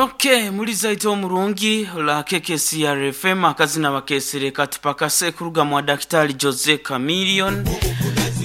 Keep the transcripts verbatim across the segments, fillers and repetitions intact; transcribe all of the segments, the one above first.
Okay, mulizaito omurungi la K K C R F M, akazina bakesere katupakase kuruga mwa Daktari Jose Chameleone.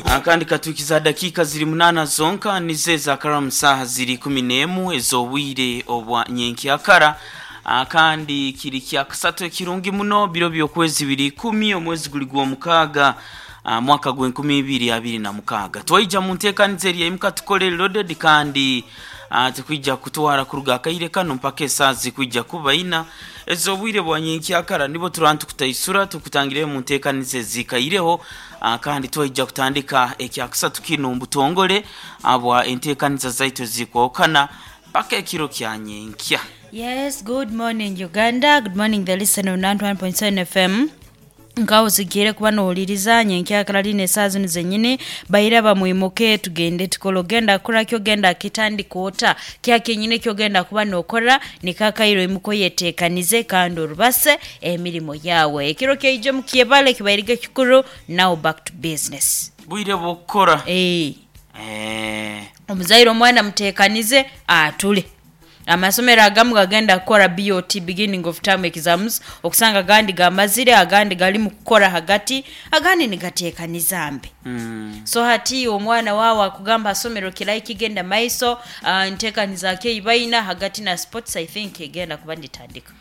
Akandi katukiza dakiika ziri munana zonka nize zakara saha ziri kumi n'emu ez'obwire obwa nyenkyakara. Akandi kiri kya kasatu ekirungi muno, biro by'okwezi biri ikumi, omwezi guli gw'omukaaga, ah, mwaka gw'enkumi ibiri abiri na mukaaga. Twaija mu nteekaniza eri eimuka tukole loaded, kandi ah, tukwija kutwara kuruga akaire kano mpaka esaaha zikwija kuba ina ez'obwire bwa nyenkyakara. Nibo turaba tukutaisura tukutangire mu nteekaniza ezikaireho. ah, kandi twaija kutandika ekyakusatu kino mubutongole abwa enteekaniza zaitu ezikwokana mpaka ekiro kya nyenkya. Yes, good morning, Uganda. Good morning, the listener on ninety-one point seven F M. Nkaho zigire kuba nohuliriza nyenkyakara lino esaaha zino zenyini. Baira bamwimuke tugende tukole. Ogenda kukora kyogenda kitandika ota kya kenyini kyogenda kuba nokora nikakairo. Imuko yetekanize kandi orubase emirimo yawe. Ekiro kyaije mukyebale kibairige kikuru. Now back to business. Bwire bwokukora. Eh. Eh, omuzaire omwana mutekanize atule. Amasomero agamu gagenda kukora B O T, beginning of term exams, okusanga agandi gamazire, agandi gali mu kukora hagati, agandi nigatekaniza mbe. mm. So hati omwana wawe akugamba asomero kirai kigenda maiso, uh, ntekaniza keibaina hagati na sports, I think egenda kuba nditandika.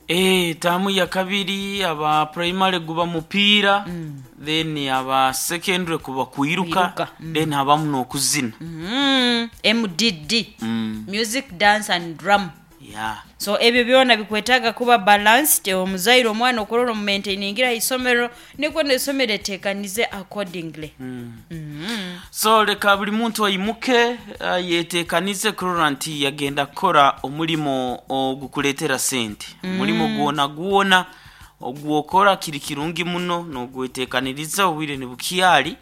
Eh, taamu ya kabiri aba primary guba mupiira mm. then aba secondary kuba kwiruka. Kwiruka, mm. then habamu n'okuzina. mm. M D D, mm. music, dance and drum. Yeah. So ebyo byona bikwetaaga kuba balanced. Omuzaire omwana okurora omumaintainingira isomero nikwo nesomero etekanize accordingly mm. So leka buli muntu ayimuke, uh, yetekanize kurora nti yagenda kukora omulimo ogukuleetera sente. Omulimo gwona gwona ogwokora kiri kirungi muno nogwetekaniriza obwire nibukyali,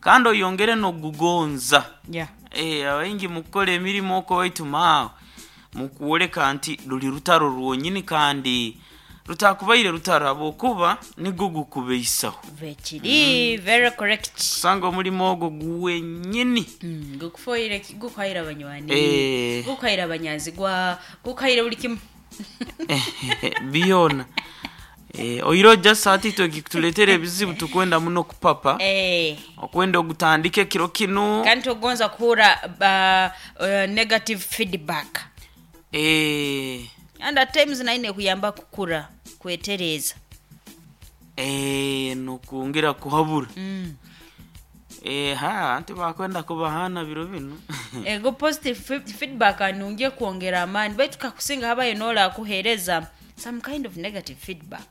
kandi oyongere nogugonza. yeah. Eh, abaingi mukukora emirimu oko waitu maawe mukuwoleka nti luli rutaro rwonyini, kandi rutakubaire rutaro habwokuba nigwo gukubeisaho. Vekiri very correct. Kusanga omulimo ogwo guwenyini. Mm, gukufoire, gukwahira abanywani, Eh. gukwahira abanyanzigwa, gukwahira buli kimu. Byona. Eh, oiro just ati twekituletera ebizibu tukwenda muno kupapa. Eh. Okwenda ogutandika ekiro kino. Kandi togonza kuhura uh, uh, negative feedback. Eh, and at times naine kuyamba kukura kwetereza. eh, nokwongera kuhabura. mm. Eh, ha anti bakwenda kubahana biro bino. Ego positive fe- feedback anungie kwongera amaani, baitu kakusinga habayo nola akuhereza some kind of negative feedback.